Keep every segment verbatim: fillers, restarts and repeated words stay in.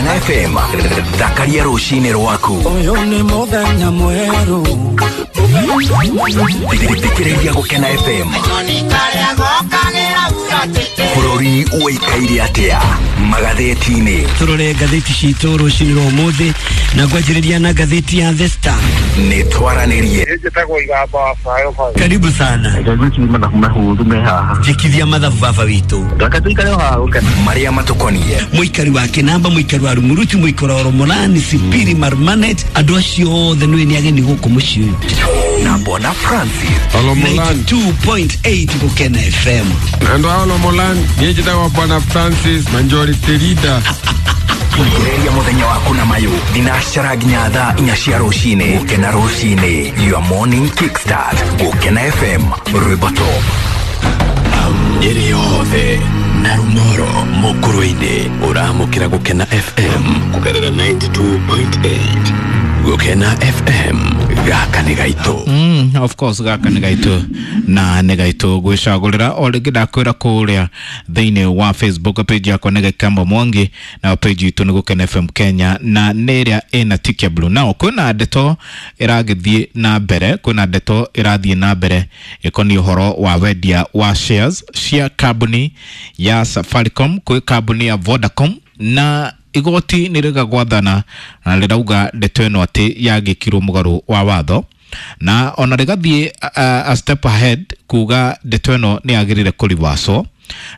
Gũkena F M thakaria rũcinĩ rwaku. Ũyũ nĩ mũthenya mwerũ. Thikĩrĩria Gũkena F M. Bũrũri ũikaire atĩa magathĩti-inĩ? Tũrore ngathĩti citũ rũcinĩ rwa ũmũthĩ na ngwanjĩrĩria na ngathĩti ya The Star. Nĩ twaranĩrie. Karibu sana. Njĩkithia mathabu baba witũ. Marĩa matũkoniĩ. Mũikari wa Kĩnamba, mũikari wa Rumuruti, mũikari wa Romolani, Sipiri, Marmanet, andũ acio othe nĩ nĩ ageni gũkũ mũciĩ ũyũ. Na Bwana Francis. ninety two point eight Gũkena F M. Andũ a Olomolani, niĩ njĩtagwo Bwana Francis Majority Leader. Thikĩrĩria mũthenya waku na mayũ thinacara nginya thaa inya cia rũcinĩ. Gũkena rũcinĩ, your morning kickstart. Gũkena F M, rwĩmbo top. Nyeri yothe na Rumoro mũkũrũ-inĩ ũramũkĩra Gũkena F M kũgerera ninety two point eight. Gũkena F M gaka nĩ gaitũ. Mm, of course gaka nĩ gaitũ na nĩ gaitũ gwĩcagũrĩra. O rĩngĩ ndakwĩra kũrĩa thĩinĩ wa Facebook page yakwa nĩ Gĩkamba Mwangi na page itũ nĩ Gũkena F M Kenya na nĩ ĩrĩa ĩna tick ya blue. Now kwĩna ndeto ĩragĩthiĩ na mbere, kwĩna ndeto ĩrathiĩ na mbere ĩkoniĩ ũhoro wa wendia wa shares cia kambuni ya Safaricom kwĩ kambuni ya Vodacom, na igoti nĩ rĩgagwathana na rĩrauga ndeto ĩno atĩ yagĩkirwo mũgarũ wa watho, na ona rĩgathiĩ a, a step ahead kuga ndeto ĩno nĩ yagĩrĩire kũrivaswo.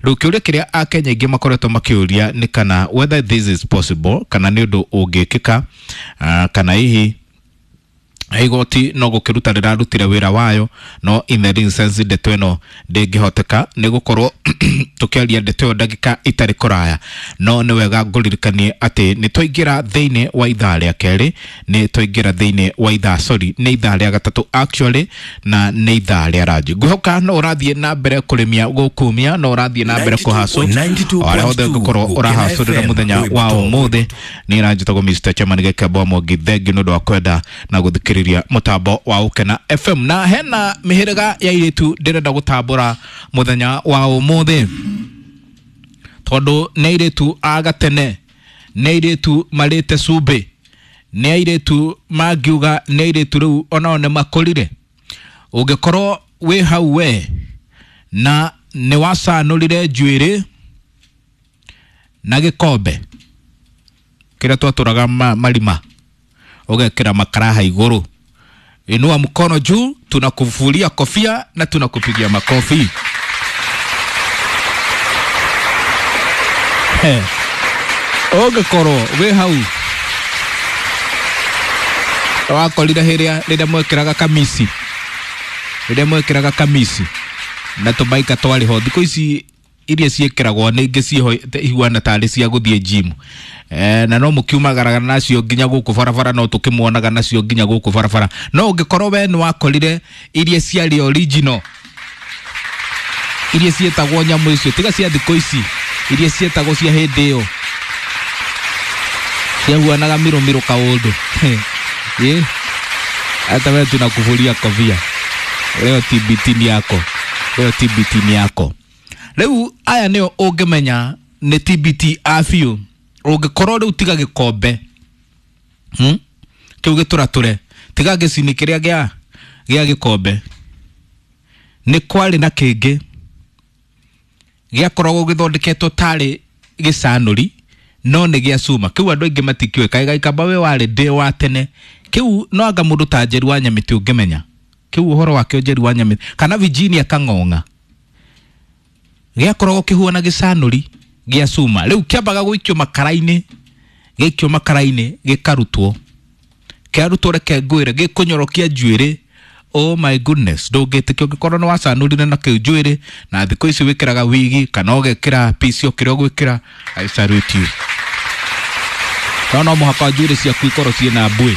Rĩu kĩũria kĩrĩa Akenya aingĩ makoretwo makĩũria nĩ kana whether this is possible, kana nĩ ũndũ ũngĩkĩka, uh, kana hihi igoti no gũkĩruta rĩrarutire wĩra wayo, no in the instance ndeto ĩno ndĩngĩhoteka nĩ gũkorwo tũkĩaria ndeto ĩyo ndagĩka itarĩ kũraya. No nĩ wega ngũririkanie atĩ nĩ twaingĩra thĩinĩ wa ithaa rĩa kerĩ, nĩ twaingĩra thĩinĩ wa ithaa, sorry, nĩ ithaa rĩa gatatũ actually, na nĩ ithaa rĩa ranji. Ngwĩhoka no ũrathiĩ na mbere kũrĩmia gũkumia, no ũrathiĩ na mbere kũhacũ arĩa othe ũngĩkorwo ũrahacũrĩra mũthenya wa ũmũthĩ. Nĩ ranjĩtagwo Mister Chairman Gĩkembo Mwangi, thengiũ nĩ ũndũ wa kwenda na gũthikĩrĩria mũtambo wa Gũkena F M. Na hena mĩhĩrĩga ya airĩtu ndĩrenda gũtambũra mũthenya wa ũmũthĩ, tondũ nĩ airĩtu a gatene, nĩ airĩtu marĩte cumbĩ, nĩ airĩtu mangiuga nĩ airĩtu rĩu onao nĩ makũrire. Ũngĩkorwo wĩ hau we na nĩ wacanũrire njuĩrĩ na gĩkombe kĩrĩa twatũraga marima, ũgekĩra makaraha igũrũ, inua mkono juu, tunakuvulia kofia na tunakupigia makofi. He, ũngĩkorwo wĩ hau wakorire hĩrĩa rĩrĩa mwekĩraga kamisi, rĩrĩa mwekĩraga kamisi na tũmaika twarĩ ho, thikũ ici iria ciĩkĩragwo nĩ ingĩ ciĩho ihuana tarĩ cia gũthiĩ gym, eh, na no mũkiumagaraga nacio nginya gũkũ barabara, no tũkĩmuonaga nacio nginya gũkũ barabara. No ũngĩkorwo we nĩ wakorire iria ciarĩ original, iria ciĩtagwo nyamũ icio, tiga cia thikũ ici, iria ciĩtagwo cia hĩndĩ ĩyo ciahuanaga mĩrũmĩrũ kaũndũ. Ĩ, hata we tunakuvulia kofia leo, T B T ni yako leo, T B T ni yako. Rĩu aya nĩo ũngĩmenya nĩ T B T a biũ. Ũngĩkorwo rĩu tiga gĩkombe, hmm? kĩu gĩtũratũre, tiga gĩcini kĩrĩa gĩa gĩa gĩkombe, nĩ kwarĩ na kĩngĩ gĩakoragwo gĩthondeketwo tarĩ gĩcanũri no nĩ gĩa cuma. Kĩu andũ aingĩ matikĩũĩ, kaĩ gaikamba we warĩ ndĩ wa tene. Kĩu no anga mũndũ ta Njeri wa Nyamĩtĩ ũngĩmenya kĩu ũhoro wakĩo, Njeri wa Nyamĩtĩ kana Virginia Kang'ong'a, gĩakoragwo kĩhuana gĩcanũri gĩa cuma. Rĩu kĩambaga gũikio makara-inĩ, gĩikio makara-inĩ gĩkarutwo, kĩarutwo reke ngwĩre gĩkũnyorokia njuĩrĩ. Oh my goodness, ndũngĩtĩkia ũngĩkorwo nĩ wacanũrire na kĩu njuĩrĩ, na thikũ ici wĩkĩraga wigi kana ũgekĩra piece o kĩrĩa ũgwĩkĩra. I salute you. No no mũhaka njuĩrĩ ciaku ikorwo ciĩna mbuĩ.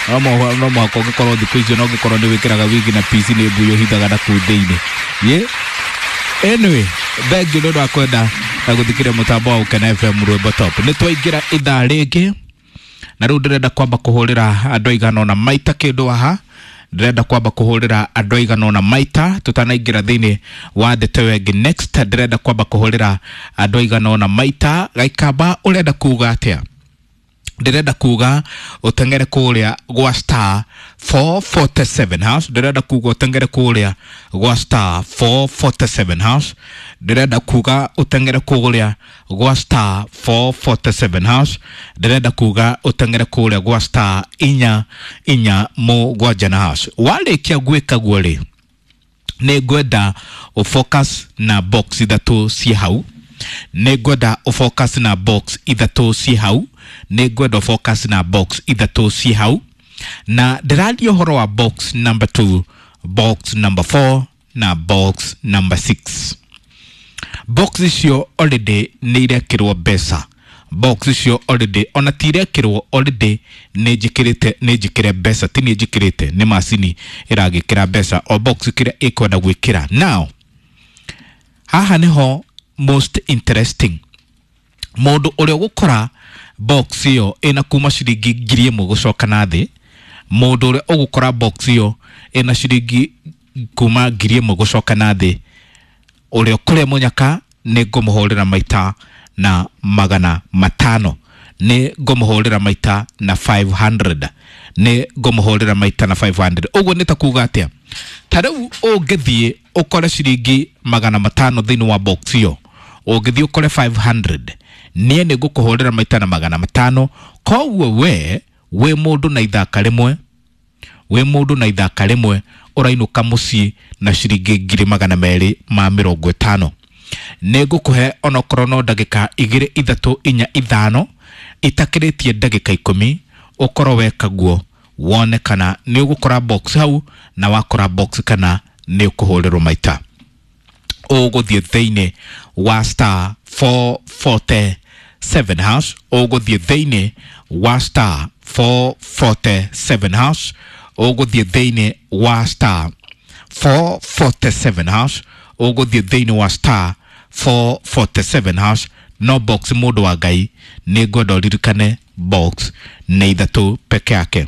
No mũhaka, no mũhaka ũngĩkorwo thikũ icio no ũngĩkorwo nĩ wĩkĩraga wigi na piece nĩ mbuĩ ũhithaga na kũu thĩinĩ. Ye? Anyway, thank you nĩ ũndũ wa kwenda na gũthikĩrĩria mũtambo wa Gũkena F M rwĩmbo top. Nĩ twaingĩra ithaa rĩngĩ na rĩu ndĩrenda kwamba kũhũrĩra andũ aigana ũna maita kĩndũ haha. Ndĩrenda kwamba kũhũrĩra andũ aigana ũna maita tũtanaingĩra thĩinĩ wa ndeto ĩyo ĩngĩ next. Ndĩrenda kwamba kũhũrĩra andũ aigana ũna maita. Gaikamba, ũrenda kuga atĩa? Ndĩrenda kuga ũteng'ere kũrĩa gwa star four forty-seven hash. Ndĩrenda kuga ũteng'ere kũrĩa gwa star four forty-seven hash. Ndĩrenda kuga ũteng'ere kũrĩa gwa star four forty-seven hash. Ndĩrenda kuga ũteng'ere kũrĩa gwa star inya inya mũgwanja na hash. Warĩkia gwĩka guo rĩ, nĩ ngwenda ũfocus na box ithatũ ciĩ hau. Nĩ ngwenda ũfocus na box ithatũ ciĩ hau. Nĩ ngwenda ũfocus na box ithatũ ciĩ hau. Na ndĩraria ũhoro wa box number two, box number four na box number six. Box icio already nĩ irekĩrwo mbeca. Box icio already ona ti irekĩrwo, already nĩ njĩkĩrĩte, nĩ njĩkĩre mbeca, ti niĩ njĩkĩrĩte, nĩ macini ĩragĩkĩra mbeca o box kĩrĩa ĩkwenda gwĩkĩra. Now haha nĩho most interesting, mũndũ ũrĩa ũgũkora box ĩyo ĩna kuma ciringi ngiri ĩmwe gũcoka na thĩ, mũndũ ũrĩa ũgũkora box ĩyo ĩna ciringi kuma ngiri ĩmwe gũcoka na thĩ, ũrĩa ũkũrĩa mũnyaka nĩ ngũmũhũrĩra maita na magana matano, nĩ ngũmũhũrĩra maita na five hundred, nĩ ngũmũhũrĩra maita na five hundred. Ũguo nĩ ta kuga atĩa? Ta rĩu ũngĩthiĩ ũkore ciringi magana matano thĩinĩ wa box ĩyo, ũngĩthiĩ ũkore five hundred, niĩ nĩ ngũkũhũrĩra maita na magana matano. Koguo we wĩ mũndũ na ithaka rĩmwe, wĩ mũndũ na ithaka rĩmwe ũrainũka mũciĩ na ciringi ngiri magana merĩ ma mĩrongo ĩtano. Nĩ ngũkũhe onokorwo no ndagĩka igĩrĩ ithatũ inya ithano itakĩrĩtie ndagĩka ikũmi, ũkorwo weka guo wone kana nĩ ũgũkora box hau, na wakora box kana nĩ ũkũhũrĩrwo maita. Ũgũthiĩ thĩinĩ wa star four forty-seven hash, ũgũthiĩ thĩinĩ wa star four forty-seven hash, ũgũthiĩ thĩinĩ wa star four forty-seven hash, ũgũthiĩ thĩinĩ wa star four forty-seven hash. No box mũndũ wa Ngai nĩ ngwenda ũririkane box nĩ ithatũ peke yake.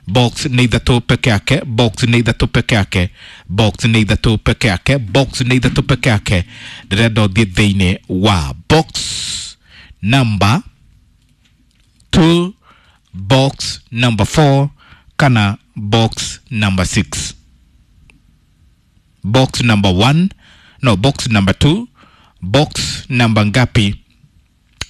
Box nĩ ithatũ peke yake, box nĩ ithatũ peke yake, box nĩ ithatũ peke yake, box nĩ ithatũ peke yake. Ndĩrenda ũthiĩ thĩinĩ wa box number two, box number four kana box number six. Box number one, no, box number two, box number ngapi?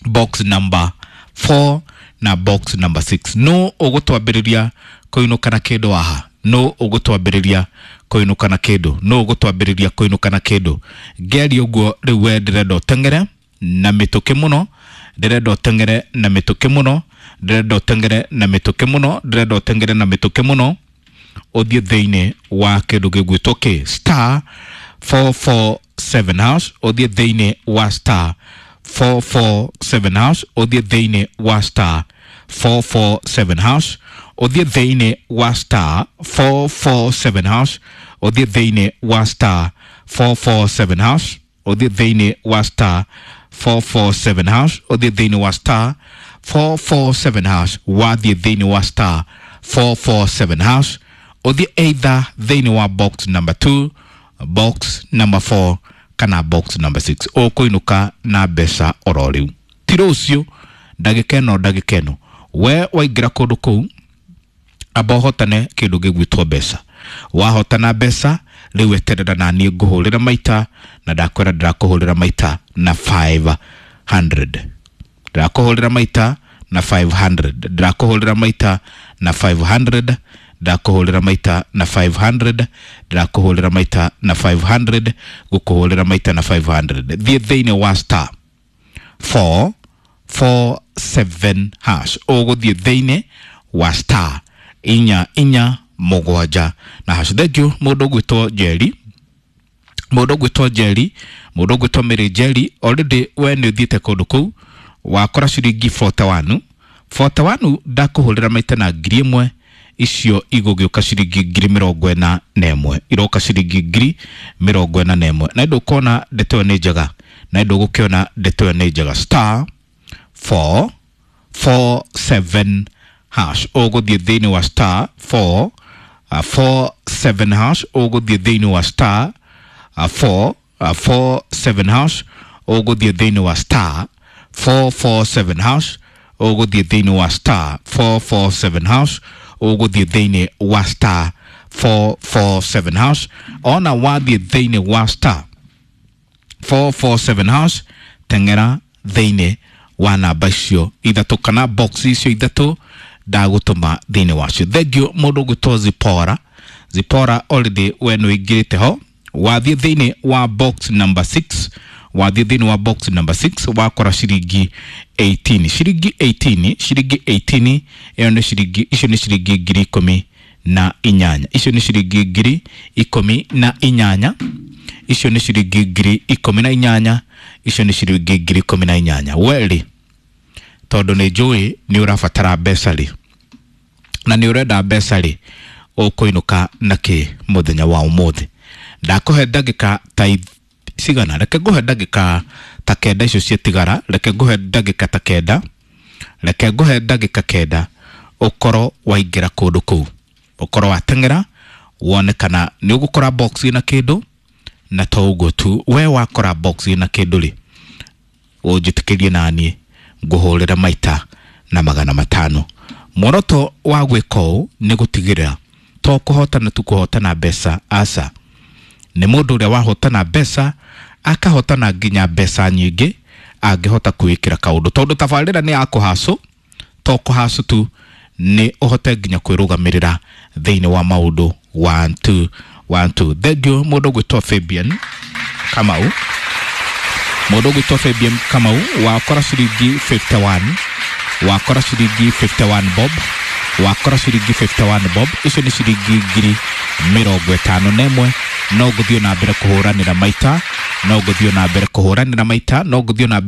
Box number four na box number six. No ũgũtwambĩrĩria kũinũka na kĩndũ haha. No ũgũtwambĩrĩria kũinũka na kĩndũ. No ũgũtwambĩrĩria kũinũka na kĩndũ. Ngĩaria ũguo rĩu we ndĩrenda ũteng'ere na mĩtũkĩ mũno, ndĩrenda ũteng'ere na mĩtũkĩ mũno, ndĩrenda ũteng'ere na mĩtũkĩ mũno, ndĩrenda ũteng'ere na mĩtũkĩ mũno, ũthiĩ thĩinĩ wa kĩndũ gĩgwĩtwo kĩ star four four seven hash, ũthiĩ thĩinĩ wa star four four seven hash, ũthiĩ thĩinĩ wa star four four seven hash, ũthiĩ thĩinĩ wa star four four seven hash, ũthiĩ thĩinĩ wa star four four seven hash, ũthiĩ thĩinĩ wa star four four seven hash, ũthiĩ thĩinĩ wa star four four seven hash, wathiĩ thĩinĩ wa star four four seven hash, ũthiĩ either thĩinĩ wa box number two, box number four kana box number six. Ũkũinũka na mbeca oro rĩu, ti rũciũ, ndagĩka ĩno, ndagĩka ĩno. We waingĩra kũndũ kũu amba ũhotane kĩndũ gĩgwĩtwo mbeca. Wahotana mbeca rĩu eterera na niĩ ngũhũrĩra maita, na ndakwĩra ndĩrakũhũrĩra maita na five hundred. Ndĩrakũhũrĩra maita na five hundred. Ndĩrakũhũrĩra maita na five hundred. Ndĩrakũhũrĩra maita na five hundred. Ndĩrakũhũrĩra maita na five hundred. Gũkũhũrĩra maita na five hundred. Thiĩ thĩinĩ wa star four four seven hash. Ũgũthiĩ thĩinĩ wa star inya inya mũgwanja na hash. Thank you mũndũ ũgwĩtwo Jerry, mũndũ ũgwĩtwo Jerry, mũndũ ũgwĩtwo Mary Jerry. Already we nĩ ũthiĩte kũndũ kũu wakora ciringi forty-one, forty-one ndakũhũrĩra maita na ngiri ĩmwe, icio igũgĩũka ciringi ngiri mĩrongo ĩna na ĩmwe, iroka ciringi ngiri mĩrongo ĩna na ĩmwe. Na ndũkona ndeto ĩyo nĩ njega, na ndũgũkĩona ndeto ĩyo nĩ njega. Star four four seven hash, ũgũthiĩ thĩinĩ wa star four four seven hash, ũgũthiĩ thĩinĩ wa star four four seven hash, ũgũthiĩ thĩinĩ wa star four four seven hash, Ũgũthiĩ thĩinĩ wa star four four seven hash, ũgũthiĩ thĩinĩ wa star four four seven hash. Ona wathiĩ thĩinĩ wa star four four seven hash, teng'era thĩinĩ wa namba icio ithatũ kana box icio ithatũ ndagũtũma thĩinĩ wacio. Thengiũ mũndũ ũgwĩtwo Zipora. Zipora already we nĩ ũingĩrĩte ho, wathiĩ thĩinĩ wa box number six, wathiĩ thĩinĩ wa box number six wakora ciringi eighteen, ciringi eighteen, ciringi eighteen ĩyo nĩ ciringi, icio nĩ ciringi ngiri ikũmi na inyanya, icio nĩ ciringi ngiri ikũmi na inyanya, icio nĩ ciringi ngiri ikũmi na inyanya, icio nĩ ciringi ngiri ikũmi na inyanya. Werĩ, tondũ nĩ njũĩ nĩ ũrabatara mbeca rĩ, na nĩ ũrenda mbeca rĩ, ũkũinũka na kĩ mũthenya wa ũmũthĩ? Ndakũhe ndagĩka ta cigana? Reke ngũhe ndagĩka ta kenda icio ciatigara, reke ngũhe ndagĩka ta kenda, reke ngũhe ndagĩka kenda ũkorwo waingĩra kũndũ kũu, ũkorwo wateng'era wone kana nĩ ũgũkora box ĩna kĩndũ. Na to ũguo tu, we wakora box ĩna kĩndũ rĩ, ũnjĩtĩkĩrie naniĩ ngũhũrĩre maita na magana matano. Muoroto wa gwĩka ũũ nĩ gũtigĩrĩra to kũhotana tu kũhotana mbeca, aca, nĩ mũndũ ũrĩa wahotana mbeca akahotana nginya mbeca nyingĩ angĩhota kwĩĩkĩra kaũndũ, tondũ tabarĩra nĩ ya kũhacũ, to kũhacũ tu, nĩ ũhote nginya kwĩrũgamĩrĩra thĩinĩ wa maũndũ one two one two. Thengiũ mũndũ ũgwĩtwo Fabian Kamau, mũndũ ũgwĩtwo Fabian Kamau wakora ciringi fifty one, wakora ciringi fifty one bob, wakora ciringi fifty one bob, icio nĩ ciringi ngiri mĩrongo ĩtano na ĩmwe. No ngũthiĩ na mbere kũhũranĩra maita, no ngũthiĩ na mbere kũhũranĩra maita, no ngũthiĩ na mbere.